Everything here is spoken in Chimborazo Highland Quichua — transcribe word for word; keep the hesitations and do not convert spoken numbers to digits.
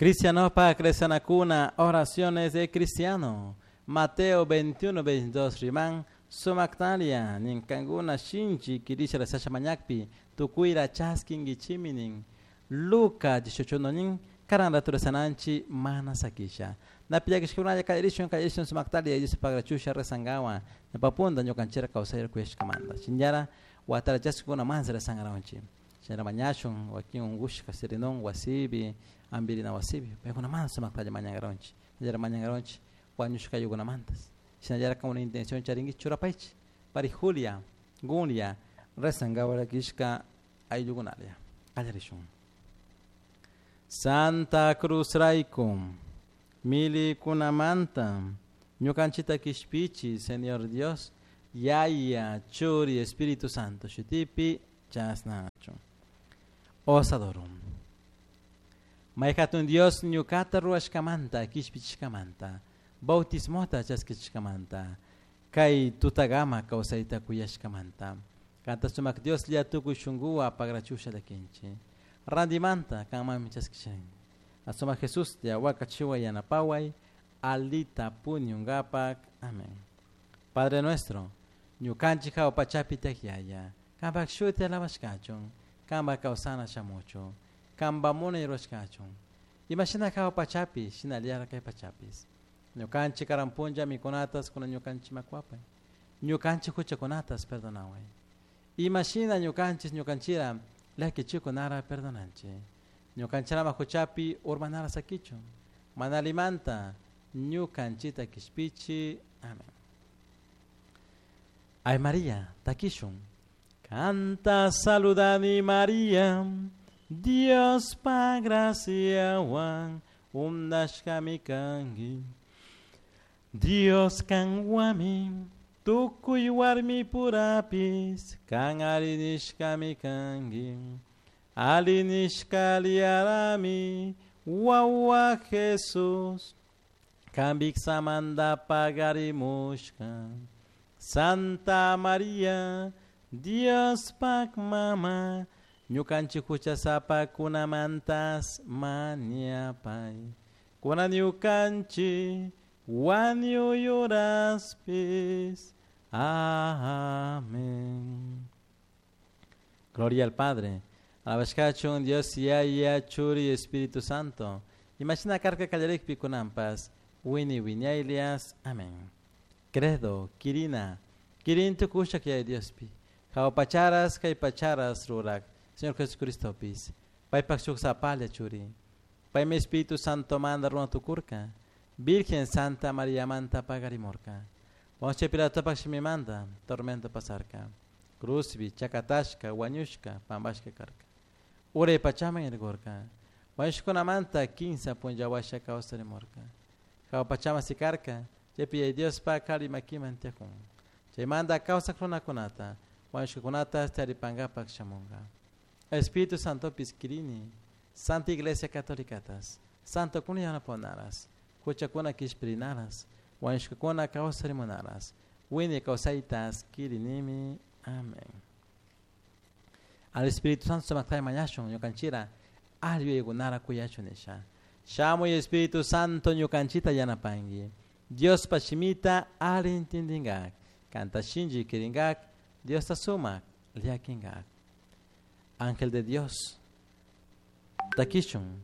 Cristianopa Cresanacuna, oraciones de cristiano. Mateo veintiuno, veintidós, Riman, Sumactalia, Nincanguna, Shinchi, Kirisha, Sasha Mañakpi, Tucuira, Chaskin, Gichiminin, Luca, dieciocho, Nin, Karanda Turesananchi, Mana Sakisha. Napillakishkunalla kallarishun kallarishun sumaqtalia Diospaq resangawan ñawpapunda ñukanchikra kawsayra kuyashkamanta shinallara watara chaskikuna mansa resangaranchik shinallara mañashun wakin unkushka sirinun wasipi ampirina wasipi paykunamanta sumaqtalla mañankaranchik shinallara mañankaranchik wañushka ayllukunamantas shinallara una intención charinki churapaychik pari Julia Gunya resangawan rakishka ayllukunalla qallarishun. Santa Cruz rayku milikunamanta ñukanchita kishpichi Señor Dios Yaya Churi Espíritu Santo shutipi chasnachu osadorum mayhatun Dios ñukata ruwashkamanta kishpichishkamanta bautismota chaskichishkamanta kay tutagama kawsayta kuyashkamanta kanta sumak Dios lla tukuy shunkuwa pagrachusha llakinchik randimanta kanmanmi chaskishanki Asuma Jesús ya wakachiwa yanapaway alita puñungapak. Amén. Padre nuestro, ñukanchik hawa pachapi tiyak kampak shuti alabashkachun, kampak kawsana shamuchun, kampak munay rurashkachun. Imashina hawa pachapi, shinallara kay pachapis. Ñukanchik karan punlla mikunatas kuna ñukanchik makuapay. Ñukanchik huchakunatas perdonaway. Imashina ñukanchik ñukanchira llakichikunara perdonanchik. Ñukanchirama huchapi urmanara sakichun. Manalimanta ñukanchita kishpichi. Amén. Ay María, takishun. Canta saludani María, Dios pa graciawan undashkami kanki. Dios kanwami, tukuy warmi purapis, kan arinishkami kanki. Alinishkaliarami, wawa Jesús, kambiksamanda pagarimushka. Santa María, Dios pak mama, ñukanchik huchasapa kunamantas mañapay. Kuna ñukanchik wañuyuraspis. Amén. Gloria al Padre. Alabashkachun Dios Yaya Churi Espíritu Santo. Imagina karka kallarikpi kunampas. Wini wiñaylias. Amén. Credo, Kirina, Kirin tukushak yaya Diospi. Hawa pacharas kay pacharas rurak. Señor Jesucristo pis. Paypak shuk sapalla churi. Paymi Espíritu Santo manda runa tukurka. Virgen Santa María manta pagarimurka. Poncio Pilato shimimanta tormento pasarka. Cruzbi, chakatashka, wañushka, pampashka karka. Uray pachaman irkurka. Wañushkunamanta kinsa punlla washa kawsarimurka. Hawa pachaman sikarka. Chaypi yaya Diospa qhari makiman tiyakun. Chaymanta kawsak runakunata, wañushkakunata taripankapak shamunka. Espíritu Santo kirini, Santa Iglesia Católicatas, Santo kuna yanaponaras, huchakuna kishpirinaras, wañushkakuna kawsarimunaras, wiñay kawsaytas kirinimi. Amén. Al Espíritu Santo sumaktay mañashun ñukanchira alli yuyaykunara kuyachun nisha. Shamuy Espíritu Santo ñukanchita yanapanki. Diospa shimita alli intindingak. Kanta shinchi kiringak, Diosta sumak llakinkak. Ángel de Dios, takishun.